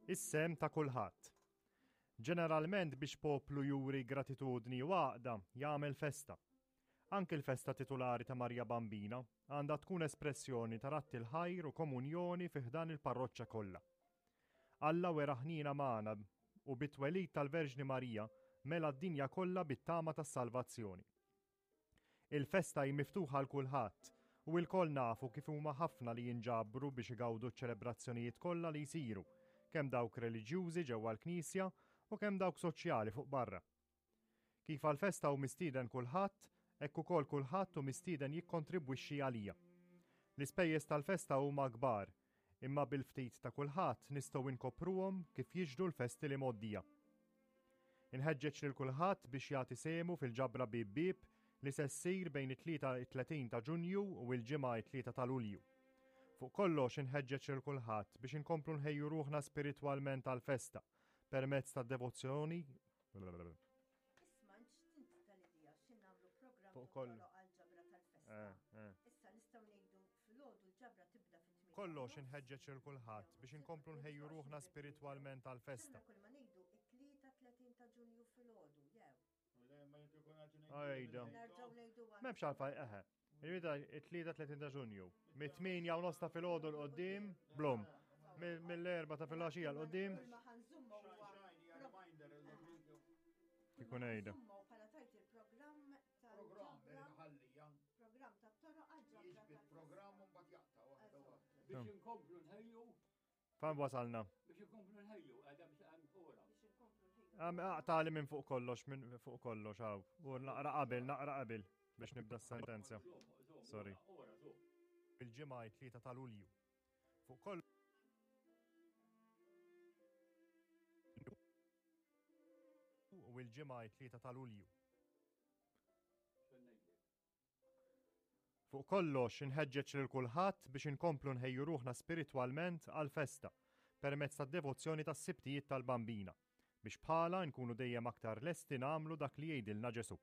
Is-sehem ta' kulħadd. Ġeneralment biex poplu juri gratitudni u għaqda jagħmel festa. Anki l-festa titulari ta' Marja Bambina għandha tkun espressjoni ta' radd il-ħajr u komunjoni fi ħdan il-parroċċa kollha. Alla wera ħniena magħna u bit-twelid tal-Verġni Marija mela d-dinja kollha bit-tama tas-salvazzjoni. Il-festa hi miftuħa għal kulħadd u ilkoll nafu kif huma ħafna li jinġabru biex igawdu ċ-ċelebrazzjonijiet kollha li jsiru, kemm dawk reliġjużi ġewwa l-knisja u kemm dawk soċjali fuq barra. Kif għall-festa hu mistieden kulħadd, hekk ukoll kulħadd hu mistieden jikkontribwixxi għalija. L-ispejjeż tal-festa huma kbar, imma bil-ftit ta' kulħadd nistgħu inkopruhom kif jixhdu l-festi li mgħoddija. Inħeġġeġ lil kulħadd biex jagħti sehmu fil-ġabra bieb bieb li se ssir bejn it-Tlieta it-30 ta' Ġunju u l-Ġimgħa it-3 ta' Lulju. Fuq kollox inħeġġeġ lil kulħadd biex inkomplu nħejju ruħna spiritwalment għall-festa permezz tad-devozzjoni Isma' x'tint tal-idea xi nagħmlu programm Fuq kollu. għall-ġabra tal-festa. Eh, eh. Issa nistgħu ngħidu filgħodu l-ġabra tibda fit-tmien. Kollox inħeġġeġ lil kulħadd biex inkomplu nħejju ruħna spiritwalment għall-festa. Kull ma ngħidu it-tlieta 30 ta' Ġunju filgħodu jew. Ejda. Nerġgħu ngħidu għal- M'hemmx għalfej eħe. Il-mida it-tlieta 30 ta' Ġunju. Mit-8 u nofs ta' filgħodu 'l quddiem, blum. Mill-erba ta' filgħaxija 'l quddiem, Kull ma ħanżummu huwa ikun ejda. Żummu bħala tajt il-programm Programm tal-ġabra, ħallija, programm tat-toroq għall-ġabra jiġbid tal-festa. programm u mbagħad jaqta' waħda waħda. Biex inkomplu nħejju, Fan wasalna. biex inkomplu nħejju, għadha biex għan ora. Biex inkomplu nħejju. Għam aqtali minn fuq kollox, minn fuq kollox, għaw. U naqra qabel, naqra qabel biex nibda s-sentenza. Sorry. Ora, zo. Il-ġimgħa it-3 ta' Lulju. Fuq kollox. U l-ġimgħa it-3 ta' Lulju. Fuq kollox inħeġġeġ lil kulħadd biex inkomplu nħejju ruħna spiritwalment għall-festa permezz tad-devozzjoni tas-Sibtijiet tal-Bambina, biex bħalha nkunu dejjem aktar lesti nagħmlu dak li jgħidilna Ġesù.